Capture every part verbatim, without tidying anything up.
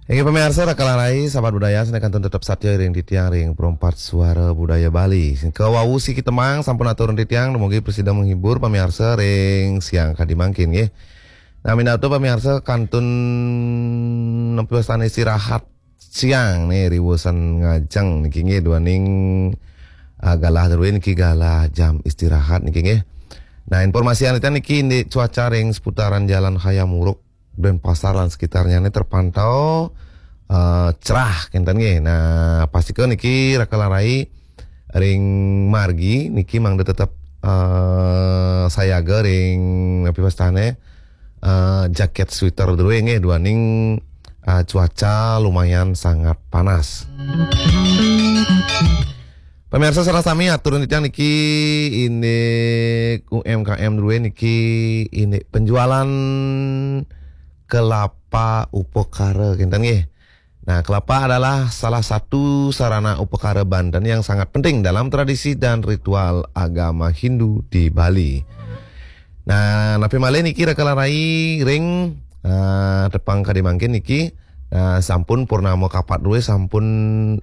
Inggih pamiarsa, Raka lan Rai, sahabat budaya, sané kantun tetep satia ring titiang ring Perempat Suara Budaya Bali. Sing kawau siki tembang sampun atur ring titiang, dumugi prasida menghibur pamiarsa ring siang kadi mangkin nggih. Nah, minab pamiarsa kantun napi wastané istirahat siang nih, riweusan ngajeng niki nggih, duaning ah, galah drué niki galah jam istirahat niki nggih. Nah, informasi anu titiang niki indik cuaca ring seputaran Jalan Hayam Wuruk, Denpasar lan sekitarnya ini terpantau eh, cerah kinten nggih. Nah, pastika niki Raka lan Rai ring margi niki mangda tetep eh, sayaga ring napi wastané eh, jaket sweater drué nggih, duaning eh, cuaca lumayan sangat panas. Pamiarsa sareng sami, atur titiang niki indik U M K M drué niki indik penjualan kelapa upakara kinten nggih. Nah, kelapa adalah salah satu sarana upakara Banten yang sangat penting dalam tradisi dan ritual agama Hindu di Bali. Nah, napi malih niki Raka lan Rai ring ah, tepang kadi mangkin niki ah, sampun purnama kapat drué sampun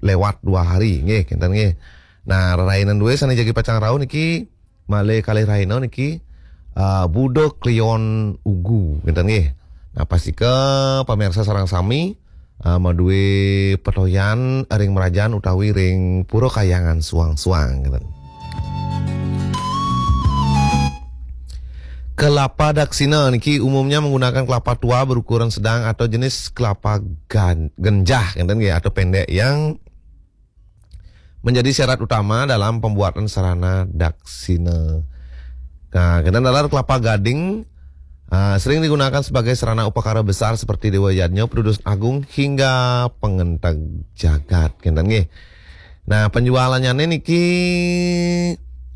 lewat dua hari nggih kinten nggih. Nah, rerainan drué sané jagi pacang rauh niki malih kalih rahina niki ah, Buda Kliwon Ugu kinten nggih. Nah, pastika pamiarsa sareng sami ah, madué petoyan ring merajan utawi ring Pura Kahyangan suang-suang kinten. Kelapa daksina niki umumnya menggunakan kelapa tua berukuran sedang atau jenis kelapa gan- genjah kinten nggih, atau pendek yang menjadi syarat utama dalam pembuatan sarana daksina. Nah, kinten taler kelapa gading ah, sering digunakan sebagai sarana upakara besar seperti Dewa Yadnya, Perdudusan Agung, hingga pengenteg jagat kinten nggih. Nah, penjualannya niki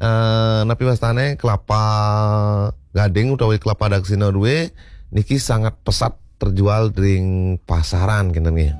eh, napi wastané kelapa gading utawi kelapa daksina drué niki sangat pesat terjual ring pasaran kinten nggih.